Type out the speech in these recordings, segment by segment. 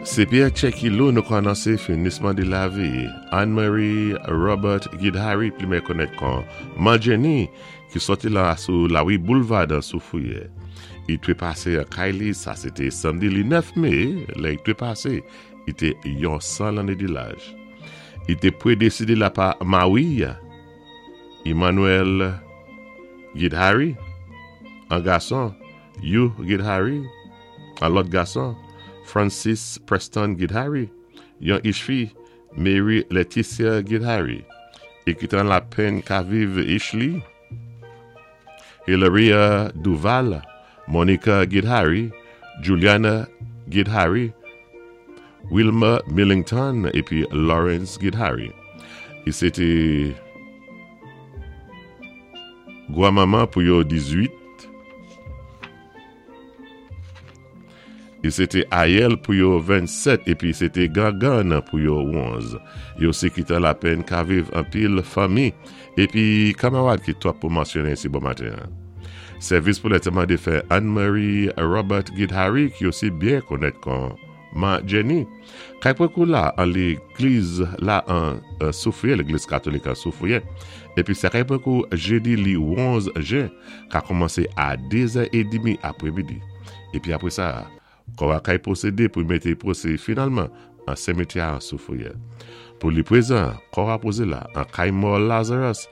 Sé Pierre Tchekilo nou ka anonsé finisman di lavi Anne Marie Robert Guidhary pli mèyè konnèt kon Man Jenny ki sòti la sou Lawi Boulevard an Soufrière. I twe pasé an kay li, sa sé té samdi li 9 me, lè i twe pasé, i té yon 100 lanné di laj. I té predesede la pa mawi Emmanuel Guidhary, an gason, Hugh Guidhary, an lòt gason, Francis Preston Guidhary, yon ich fi, Mary Letitia Guidhary, e ki te an lapenn ka viv ich li, Hilaria Duval, Monica Guidhary, Juliana Guidhary, Wilma Millington epi Lawrence Guidhary. Li se te granmanman pou yo 18. Li se te ayèl pou yo 27 epi se te gangann pou yo 11. Yo se ki tan lapenn ka viv anpil fanmi epi kamarad ki twòp pou mansyone si bon maten an. Sèvis pou lantèman defen Anne Marie Robert Guidhary ki osi byen konèt kon Ma Jenny. Kay prekou la an legliz la an Soufriè, legliz katolik an Soufriè. Epi sa kay prekou jedi li 11 jen ka kòmanse a 2 zè edmi apremidi. Epi apre sa, kò a kay pwosede pou mete pwose finalman an semetyè a an Soufriè. Pou li prezan, kò a poze la an kay mò Lazarus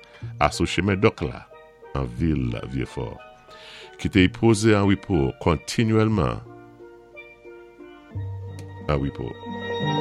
a sou chemen Dòk la an vil Vyefò. Kite y poze an repo kontinyèlman an repo.